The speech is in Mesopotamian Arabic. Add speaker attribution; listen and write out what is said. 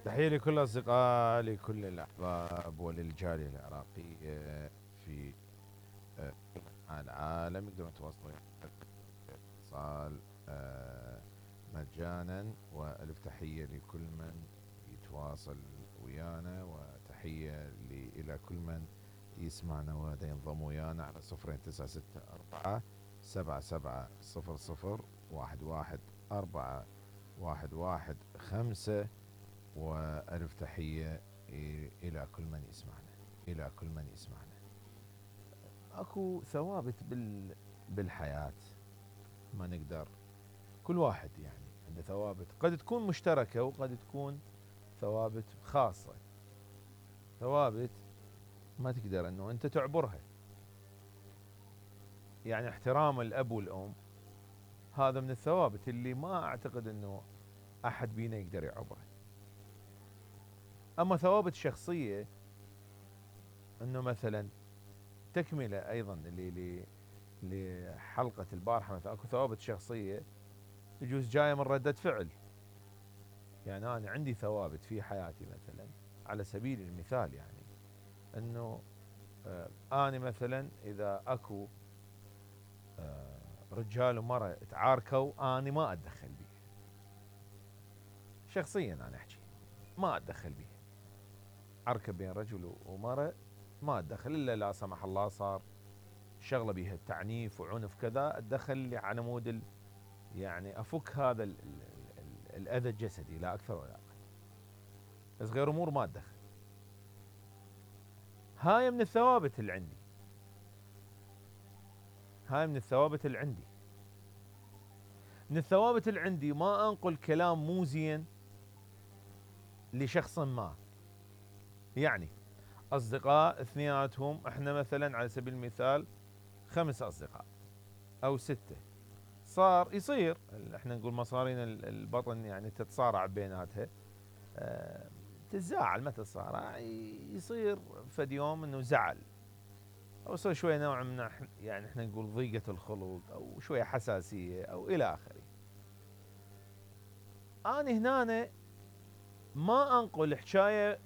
Speaker 1: تحية لكل الأصدقاء، لكل الأحباب وللجالية العراقية في كل أنحاء العالم. يقدرون يتواصلون اتصال مجانا. وألف تحية لكل من يتواصل ويانا، وتحية إلى كل من يسمعنا وهذا ينضم ويانا على 0964 7700 11 وألف تحية إلى كل من يسمعنا. أكو ثوابت بالحياة ما نقدر، كل واحد يعني عنده ثوابت قد تكون مشتركة وقد تكون ثوابت خاصة. ثوابت ما تقدر أنه أنت تعبرها، يعني احترام الأب والأم هذا من الثوابت اللي ما أعتقد أنه أحد بينا يقدر يعبره. أما ثوابت شخصية أنه مثلا تكملة أيضا اللي لحلقة البارحة، مثلا أكو ثوابت شخصية يجوز جاية من ردة فعل. يعني أنا عندي ثوابت في حياتي مثلا على سبيل المثال، يعني أنه أنا مثلا إذا أكو رجال ومرأة تعاركوا أنا ما أتدخل بيه شخصيا، أنا أحكي ما أتدخل بيه. عركة بين رجل ومرأة ما أتدخل، إلا لا سمح الله صار شغلة بيها تعنيف وعنف كذا أتدخل لي على مود يعني أفك هذا الأذى الجسدي، لا أكثر ولا أقل. بس غير أمور ما أتدخل. هاي من الثوابت اللي عندي، من الثوابت اللي عندي ما أنقل كلام مو زين لشخص ما. يعني أصدقاء اثنيناتهم، احنا مثلا على سبيل المثال 5 أصدقاء أو 6، يصير احنا نقول مصارين البطن يعني تتصارع بيناتها، تتزاعل، ما تتصارع، يصير فد يوم انه زعل او يصير شويه نوع من يعني احنا نقول ضيقه الخلق او شويه حساسيه او الى اخره. انا هنا ما انقل حكايه